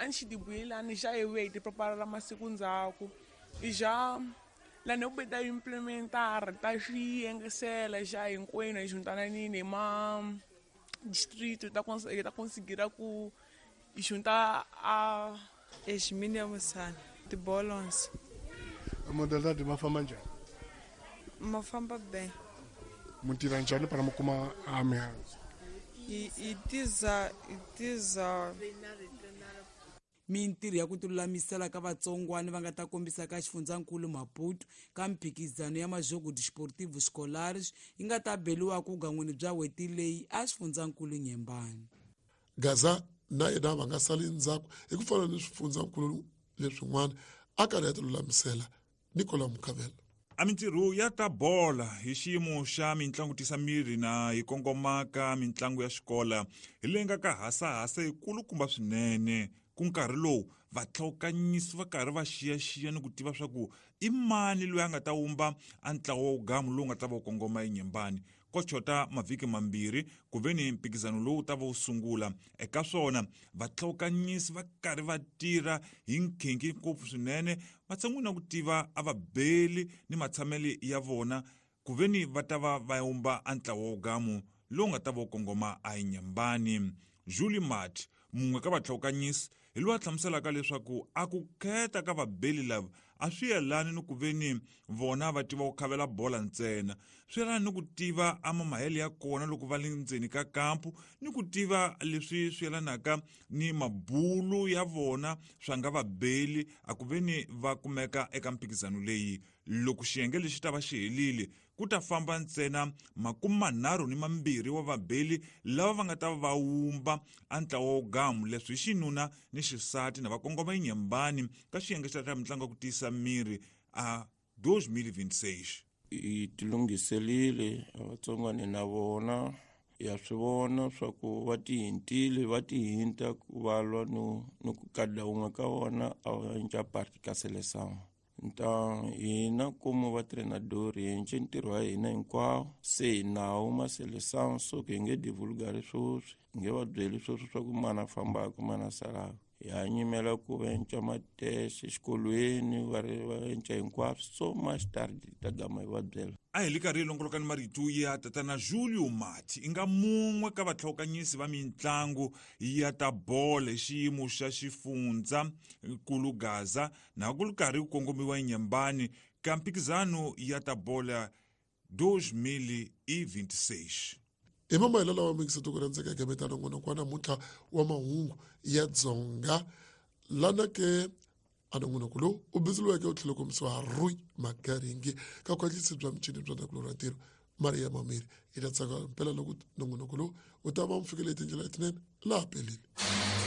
A ni xi dibuyelani xa hi vuye hi ti preparela masiku ndzhaku i xa lani hi ku ta implementara ta xi yengesela xa hinkwenu hi xuntananini hi ma district ta hi ta considera ku hi xunta a Eximini ya Musana tibolons. Modalidade ma famba njhani? Ma famba bem. Mu tirha njhani para mu kuma a mihandzu? Hi tiza hi tiza. Mintirho ya ku tilulamisela ka vatsongwani va nga ta kombisa ka xifundzankulu Maputo ka mphikizano ya Majogo Desportivo Escolares yi nga ta beliwa ku gan'wini bya hweti leyi a xifundzankulu Nyembani. Gaza na yena va nga sali ndzhaku hi ku fana ni swifundzankulu leswin'wana a karhi ya tilulamisela. Nicola Mukhavela. A mintirho ya ta bola hi xiyimo xa mintlangu tisa miri na hi kongoma ka mintlangu ya xikola hi leyi nga ka hasahasa yikulukumba swinene ku nkarhi lowu vatlhawukanyisi va karhi va xiyaxiya ni ku tiva swa ku i mani loyi a nga ta wumba a ntlawa wa wugamu lowu nga ta va wu kongoma enyembani Ko chota mavhiki mambirhi ku ve ni mphikizano lowu ta va wu sungula. Eka swona, vatlhawukanyisi va karhi va tirha hi nkhinkhi ngopfu swinene matshan'wini ya ku tiva a vabeli ni matshamele ya vona ku ve ni va ta va va wumba a ntlawa wo gamu lowu nga ta va wu kongoma a Inyambani. Julie Mart, mun'we ka vatlhawukanyisi, hi loyi a hlamuselaka leswaku a ku kheta ka vabeli lava a swi yelani ni ku ve ni vona va tiva ku khavela bola ntsena swi yelana ni ku tiva a mamahele ya kona loko va le ndzeni ka kampu ni ku tiva leswi swi yelanaka ni mabulu ya vona swa nga vabeli a ku ve ni va kumeka eka mphikizano leyi loko xiyenge lexi ta va xi helile ku ta famba ntsena makume ni mambirhi wa vabeli lava va nga ta va wumba a ntlawa wo gamu leswi hi xinuna ni xisati na va kongoma enyembani ka xiyenge xa ta mitlangu ya ku tiyisa miri a 2026. Hi tilunghiselile avatsongwane na vona ya swi vona swa ku va tihintile va tihinta ku va lwa no ni ku kada wun'we ka vona a va cinca parti ka seleção. Então hina como va treinador hi endle ntirho wa hina hinkwawo se hi nawo ma seleção so ku hi nge divulgari sweswi hi nge va byeli sweswi swa ku mani a fambaka mani a salaka hi ha nyimela ku va enca mateste exikolweni va ri va enca hinkwaswo so much tard ta gama hi va byela. A hi li karhi hi longoloka ni marito ya tatana Julio Mati i nga mun'we ka vatlhawukanyisi va mintlangu ya ta bolo hi xiyimo xa xifundza nkulu Gaza na ku ri karhi ku kongomiwa enyembani ka mphikizano ya ta bola 2026. Hi mamahelo lawa mingisa tiko ra ndzeka gameta nongonoko wa namuntlha wa mahungu ya Dzonga lana ke a nongonoko lowu u bindzuriweke u tlhela kombisiwa Rui Magaringi ka khwatlisi bya michini bya ndhavuko ra ntirho Maria Mamiri hi ta tsaka mpela loko nongonoko lowu u ta va mu fikele hi tindlela letinene laha peleni.